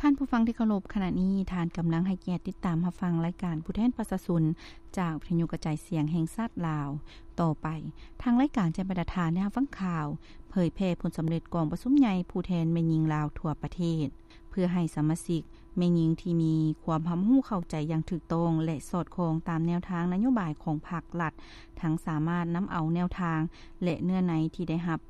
ທ່ານຜູ້ຟັງທີ່ເຄົາລົບ, ຂະນະນີ້ທ່ານກຳລັງໃຫ້ກຽດຕິດຕາມຮັບຟັງລາຍການຜູ້ແທນປະຊາຊົນ ຈາກວິທະຍຸກະຈາຍສຽງແຫ່ງຊາດລາວ. ຕໍ່ໄປ, ທາງລາຍການຈະໃຫ້ບັນດາທ່ານໄດ້ຮັບຟັງຂ່າວ ເຜີຍແຜ່ຜົນສຳເລັດກອງປະຊຸມໃຫຍ່ຜູ້ແທນແມ່ຍິງລາວທົ່ວປະເທດ. ເພື່ອໃຫ້ສະມາຊິກແມ່ຍິງທີ່ມີຄວາມຮັບຮູ້ເຂົ້າໃຈຢ່າງຖືກຕ້ອງ ແລະ ສອດຄ່ອງຕາມແນວທາງນະໂຍບາຍຂອງພັກລັດ, ທັງສາມາດນຳເອົາແນວທາງ ແລະ ເນື້ອໃນທີ່ໄດ້ຮັບ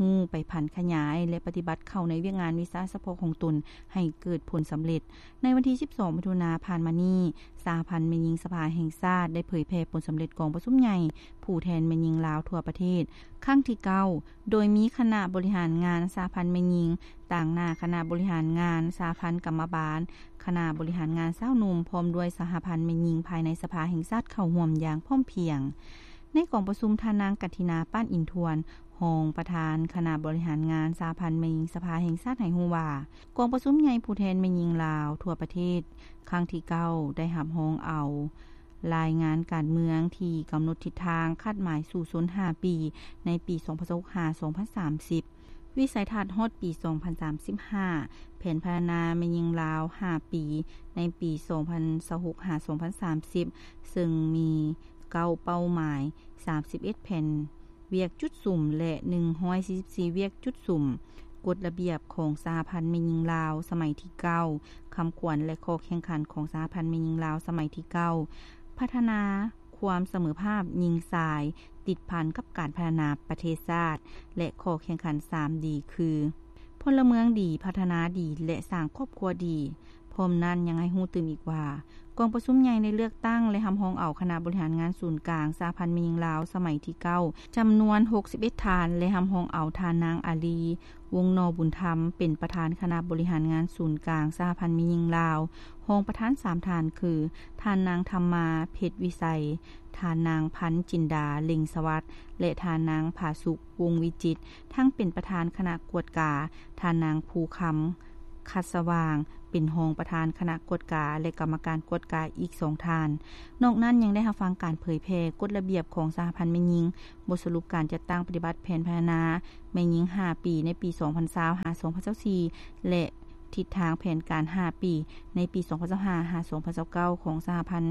ຮູ້ໄປຜັນຂະຫຍາຍ ແລະ ປະຕິບັດເຂົ້າໃນວຽກງານວິຊາສະເພາະຂອງຕົນໃຫ້ເກີດຜົນສຳເລັດ. ໃນວັນທີສິບສອງ ມິຖຸນາຜ່ານມານີ້, ສະຫະພັນແມ່ຍິງສະພາແຫ່ງຊາດໄດ້ເຜີຍແຜ່ຜົນສຳເລັດກອງປະຊຸມໃຫຍ່ຜູ້ແທນແມ່ຍິງລາວທົ່ວປະເທດ ຄັ້ງທີເກົ້າ ໂດຍມີຄະນະບໍລິຫານງານສະຫະພັນແມ່ຍິງ, ຕາງໜ້າຄະນະບໍລິຫານງານສະຫະພັນກຳມະບານ, ຄະນະບໍລິຫານງານຊາວໜຸ່ມ ພ້ອມດ້ວຍສະຫະພັນແມ່ຍິງພາຍໃນສະພາແຫ່ງຊາດເຂົ້າຮ່ວມຢ່າງພ້ອມພຽງ. ໃນກອງປະຊຸມ, ທ່ານນາງ ກັນທິນາ ປານອິນທວນ, ຮອງປະທານຄະນະບໍລິຫານງານສະຫະພັນແມ່ຍິງສະພາແຫ່ງຊາດ ໃຫ້ຮູ້ວ່າ, ກອງປະຊຸມໃຫຍ່ຜູ້ແທນແມ່ຍິງລາວທົ່ວປະເທດ ຄັ້ງທີເກົ້າ ໄດ້ຮັບຮອງເອົາ ລາຍງານການເມືອງທີ່ກຳນົດທິດທາງຄາດໝາຍສູ້ຊົນຫ້າປີ ໃນປີສອງພັນຊາວຫົກ ຫາ ສອງພັນສາມສິບ, ວິໄສທັດຮອດປີສອງພັນສາມສິບຫ້າ, ແຜນພັດທະນາແມ່ຍິງລາວຫ້າປີ ໃນປີສອງພັນຊາວຫົກ ຫາ ສອງພັນສາມສິບ ເຊິ່ງມີເກົ້າເປົ້າໝາຍ, ສາມສິບເອັດແຜນ ວຽກຈຸດສຸມ ແລະ ໜຶ່ງຮ້ອຍສີ່ສິບສີ່ ວຽກຈຸດສຸມ, ກົດລະບຽບຂອງສະຫະພັນແມ່ຍິງລາວສະໄໝທີເກົ້າ, ຄຳຂວັນ ແລະ ຂໍ້ແຂ່ງຂັນຂອງສະຫະພັນແມ່ຍິງລາວສະໄໝທີເກົ້າ, ພັດທະນາຄວາມສະເໝີພາບຍິງຊາຍ ຕິດພັນກັບການພັດທະນາປະເທດຊາດ ແລະ ຂໍ້ແຂ່ງຂັນສາມດີ ຄື ພົນລະເມືອງດີ, ພັດທະນາດີ ແລະ ສ້າງຄອບຄົວດີ. ພ້ອມນັ້ນຍັງໃຫ້ຮູ້ຕື່ມອີກວ່າ, ກອງປະຊຸມໃຫຍ່ໄດ້ເລືອກຕັ້ງ ແລະ ຮັບຮອງເອົາຄະນະບໍລິຫານງານສູນກາງສະຫະພັນແມ່ຍິງລາວສະໄໝທີເກົ້າ ຈຳນວນຫົກສິບເອັດທ່ານ ແລະ ຮັບຮອງເອົາທ່ານນາງ ອາລີ ວົງໜໍບຸນທຳ ເປັນປະທານຄະນະບໍລິຫານງານສູນກາງສະຫະພັນແມ່ຍິງລາວ, ຮອງປະທານສາມທ່ານ ຄື ທ່ານນາງ ທຳມາ ເພັດວິໄສ, ທ່ານນາງ ພັນຈິນດາ ເລັງສະຫວັດ ແລະ ທ່ານນາງ ຜາສຸກ ວົງວິຈິດ, ທັງເປັນປະທານຄະນະກວດກາ, ທ່ານນາງ ພູຄຳ ຄັດສະຫວ່າງ ເປັນຮອງປະທານຄະນະກວດກາ ແລະ ກຳມະການກວດກາອີກສອງທ່ານ. ນອກນັ້ນຍັງໄດ້ຮັບຟັງການເຜີຍແຜ່ກົດລະບຽບຂອງສະຫະພັນແມ່ຍິງ, ບົດສະຫຼຸບການຈັດຕັ້ງປະຕິບັດແຜນພັດທະນາແມ່ຍິງຫ້າປີ ໃນປີສອງພັນຊາວ ຫາ ສອງພັນຊາວສີ່ ແລະ ທິດທາງແຜນການຫ້າປີ ໃນປີສອງພັນຊາວຫ້າ ຫາ ສອງພັນຊາວເກົ້າ ຂອງສະຫະພັນ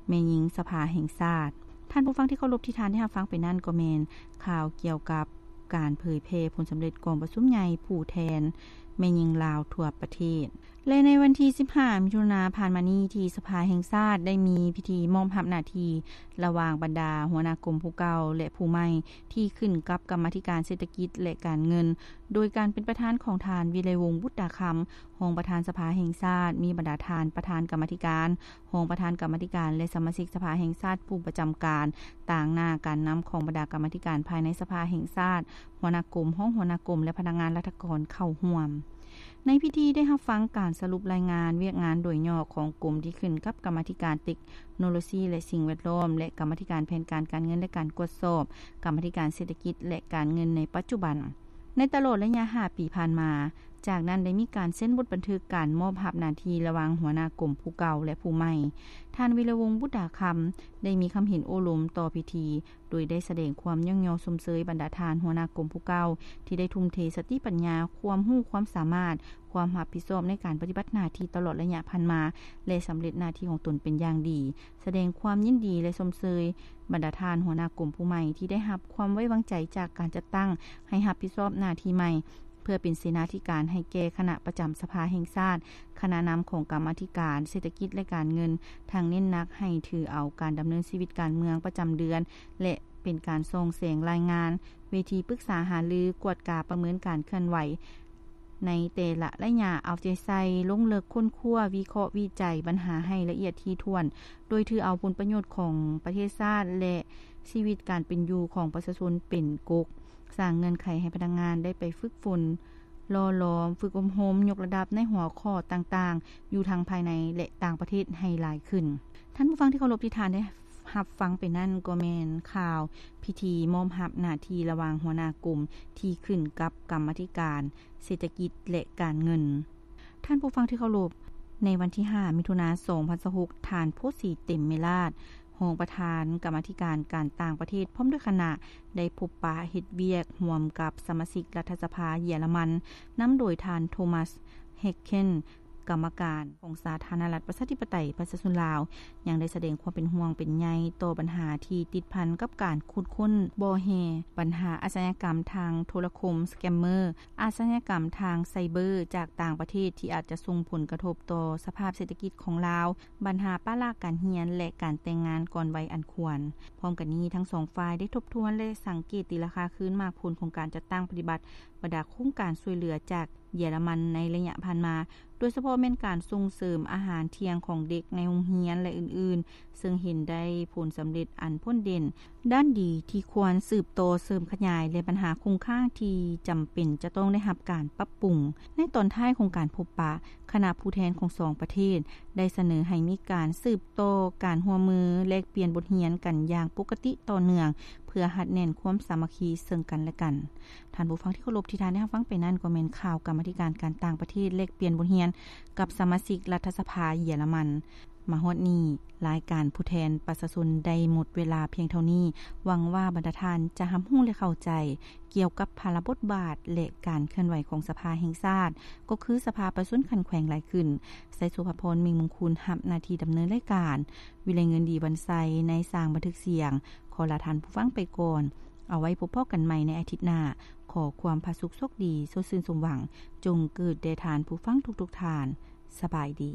ແມ່ຍິງສະພາແຫ່ງຊາດ. ທ່ານຜູ້ຟັງທີ່ເຄົາລົບ, ທີ່ທ່ານໄດ້ຮັບຟັງໄປນັ້ນກໍແມ່ນຂ່າວກ່ຽວກັບການເຜີຍແຜ່ຜົນສຳເລັດກອງປະຊຸມໃຫຍ່ຜູ້ແທນແມ່ຍິງລາວທົ່ວປະເທດ. ແລະ ໃນວັນທີສິບຫ້າ ມິຖຸນາຜ່ານມານີ້, ທີ່ສະພາແຫ່ງຊາດໄດ້ມີພິທີມອບຮັບໜ້າທີ່ລະຫວ່າງບັນດາຫົວໜ້າກົມຜູ້ເກົ່າ ແລະ ຜູ້ໃໝ່ ທີ່ຂຶ້ນກັບກຳມາທິການເສດຖະກິດ ແລະ ການເງິນ, ໂດຍການເປັນປະທານຂອງທ່ານ ວິໄລວົງ ບຸດຕາຄຳ, ຮອງປະທານສະພາແຫ່ງຊາດ, ມີບັນດາທ່ານປະທານກຳມາທິການ, ຮອງປະທານກຳມາທິການ ແລະ ສະມາຊິກສະພາແຫ່ງຊາດຜູ້ປະຈຳການ, ຕາງໜ້າການນຳຂອງບັນດາກຳມາທິການພາຍໃນສະພາແຫ່ງຊາດ, ຫົວໜ້າກົມ, ຮອງຫົວໜ້າກົມ ແລະ ພະນັກງານລັດຖະກອນເຂົ້າຮ່ວມ. ໃນພິທີໄດ້ຮັບຟັງການສະຫຼຸບລາຍງານວຽກງານໂດຍຫຍໍ້ຂອງກົມທີ່ຂຶ້ນກັບກຳມາທິການເຕັກໂນໂລຊີ ແລະ ສິ່ງແວດລ້ອມ ແລະ ກຳມາທິການແຜນການການເງິນ ແລະ ການກວດສອບ, ກຳມາທິການເສດຖະກິດ ແລະ ການເງິນໃນປັດຈຸບັນ. ໃນຕະຫຼອດໄລຍະຫ້າປີຜ່ານມາ, ຈາກນັ້ນໄດ້ມີການເຊັນບົດບັນທຶກການມອບຮັບໜ້າທີ່ລະຫວ່າງຫົວໜ້າກົມຜູ້ເກົ່າ ແລະ ຜູ້ໃໝ່. ທ່ານ ວິລະວົງ ບຸດດາຄຳ ໄດ້ມີຄຳເຫັນໂອ້ລົມຕໍ່ພິທີ, ໂດຍໄດ້ສະແດງຄວາມຍ້ອງຍໍຊົມເຊີຍບັນດາທ່ານຫົວໜ້າກົມຜູ້ເກົ່າ ທີ່ໄດ້ທຸ່ມເທສະຕິປັນຍາ, ຄວາມຮູ້ຄວາມສາມາດ, ຄວາມຮັບຜິດຊອບໃນການປະຕິບັດໜ້າທີ່ຕະຫຼອດໄລຍະຜ່ານມາ ແລະ ສຳເລັດໜ້າທີ່ຂອງຕົນເປັນຢ່າງດີ. ສະແດງຄວາມຍິນດີ ແລະ ຊົມເຊີຍບັນດາທ່ານຫົວໜ້າກົມຜູ້ໃໝ່ ທີ່ໄດ້ຮັບຄວາມໄວ້ວາງໃຈຈາກການຈັດຕັ້ງໃຫ້ຮັບຜິດຊອບໜ້າທີ່ໃໝ່ ເພື່ອເປັນເສນາທິການໃຫ້ແກ່ຄະນະປະຈຳສະພາແຫ່ງຊາດ, ຄະນະນຳຂອງກຳມາທິການເສດຖະກິດ ແລະ ການເງິນ, ທັງເນັ້ນໜັກໃຫ້ຖືເອົາການດຳເນີນຊີວິດການເມືອງປະຈຳເດືອນ ແລະ ເປັນການສ່ອງແສງລາຍງານ, ເວທີປຶກສາຫາລື, ກວດກາປະເມີນການເຄື່ອນໄຫວ ໃນແຕ່ລະໄລຍະ, ເອົາໃຈໃສ່ລົງເລິກຄົ້ນຄວ້າ, ວິເຄາະວິໄຈບັນຫາໃຫ້ລະອຽດຖີ່ຖ້ວນ, ໂດຍຖືເອົາຜົນປະໂຫຍດຂອງປະເທດຊາດ ແລະ ຊີວິດການເປັນຢູ່ຂອງປະຊາຊົນເປັນກົກ, ສ້າງເງື່ອນໄຂໃຫ້ພະນັກງານໄດ້ໄປຝຶກຝົນ, ຫຼໍ່ຫຼອມ, ຝຶກອົບຮົມ, ຍົກລະດັບໃນຫົວຂໍ້ຕ່າງໆ ຢູ່ທັງພາຍໃນ ແລະ ຕ່າງປະເທດໃຫ້ຫຼາຍຂຶ້ນ. ທ່ານຜູ້ຟັງທີ່ເຄົາລົບ, ທີ່ທ່ານໄດ້ຮັບຟັງໄປນັ້ນກໍແມ່ນຂ່າວພິທີມອບຮັບໜ້າທີ່ລະຫວ່າງຫົວໜ້າກົມທີ່ຂຶ້ນກັບກຳມາທິການເສດຖະກິດ ແລະ ການເງິນ. ທ່ານຜູ້ຟັງທີ່ເຄົາລົບ, ໃນວັນທີຫ້າ ມິຖຸນາ ສອງພັນຊາວຫົກ, ທ່ານ ໂພສີ ເຕັມເມລາດ, ຮອງປະທານກຳມາທິການການຕ່າງປະເທດ ພ້ອມດ້ວຍຄະນະ ໄດ້ພົບປະເຮັດວຽກຮ່ວມກັບສະມາຊິກລັດຖະສະພາເຢຍລະມັນ, ນຳໂດຍທ່ານ ໂທມັສ ເຮັກເຄນ, ກຳມະການຂອງສາທາລະນະລັດ ປະຊາທິປະໄຕ ປະຊາຊົນລາວ ຍັງໄດ້ສະແດງຄວາມເປັນຫ່ວງເປັນໃຍຕໍ່ບັນຫາທີ່ຕິດພັນກັບການຂຸດຄົ້ນບໍ່ແຮ່, ບັນຫາອາຊະຍາກຳທາງໂທລະຄົມ, ສະແກມເມີ, ອາຊະຍາກຳທາງໄຊເບີຈາກຕ່າງປະເທດ ທີ່ອາດຈະສົ່ງຜົນກະທົບຕໍ່ສະພາບເສດຖະກິດຂອງລາວ, ບັນຫາປະລະການຮຽນ ແລະ ການແຕ່ງງານກ່ອນໄວອັນຄວນ. ພ້ອມກັນນີ້, ທັງສອງຝ່າຍໄດ້ທົບທວນ ແລະ ສັງເກດຕີລາຄາຄືນໝາກຜົນຂອງການຈັດຕັ້ງປະຕິບັດບັນດາໂຄງການຊ່ວຍເຫຼືອຈາກເຢຍລະມັນໃນໄລຍະຜ່ານມາ, ໂດຍສະເພາະແມ່ນການສົ່ງເສີມອາຫານທ່ຽງຂອງເດັກໃນໂຮງຮຽນ ແລະ ອື່ນໆ, ເຊິ່ງເຫັນໄດ້ຜົນສຳເລັດອັນພົ້ນເດັ່ນ, ດ້ານດີທີ່ຄວນສືບຕໍ່ເສີມຂະຫຍາຍ ແລະ ບັນຫາຄົງຄ້າງທີ່ຈຳເປັນຈະຕ້ອງໄດ້ຮັບການປັບປຸງ. ໃນຕອນທ້າຍຂອງການພົບປະ, ຄະນະຜູ້ແທນຂອງສອງປະເທດໄດ້ສະເໜີໃຫ້ມີການສືບຕໍ່ການຮ່ວມມືແລກປ່ຽນບົດຮຽນກັນຢ່າງປົກກະຕິຕໍ່ເນື່ອງ ເພື່ອຮັດແໜ້ນຄວາມສາມັກຄີເຊິ່ງກັນແລະກັນ. ທ່ານຜູ້ຟັງທີ່ເຄົາລົບ, ທີ່ທ່ານໄດ້ຮັບຟັງໄປນັ້ນ ກໍແມ່ນຂ່າວກຳມາທິການການຕ່າງປະເທດແລກປ່ຽນບົດຮຽນກັບສະມາຊິກລັດຖະສະພາເຢຍລະມັນ. ມາຮອດນີ້, ລາຍການຜູ້ແທນປະຊາຊົນໄດ້ໝົດເວລາພຽງເທົ່ານີ້. ຫວັງວ່າບັນດາທ່ານຈະຮັບຮູ້ ແລະ ເຂົ້າໃຈກ່ຽວກັບພາລະບົດບາດ ແລະ ການເຄື່ອນໄຫວຂອງສະພາແຫ່ງຊາດ, ກໍຄືສະພາປະຊາຊົນຂັ້ນແຂວງຫຼາຍຂຶ້ນ. ໄຊສຸພາພອນ ເມັງມຸງຄຸນ ຮັບໜ້າທີ່ດຳເນີນລາຍການ, ວິໄລເງິນ ດີວັນໄຊ ໃນສາງບັນທຶກສຽງ ຂໍລາທ່ານຜູ້ຟັງໄປກ່ອນ. ເອົາໄວ້ພົບພໍ້ກັນໃໝ່ໃນອາທິດໜ້າ. ຂໍຄວາມຜາສຸກໂຊກດີ, ໂຊດຊື່ນສົມຫວັງ ຈົ່ງເກີດແດ່ທ່ານຜູ້ຟັງທຸກໆທ່ານ. ສະບາຍດີ.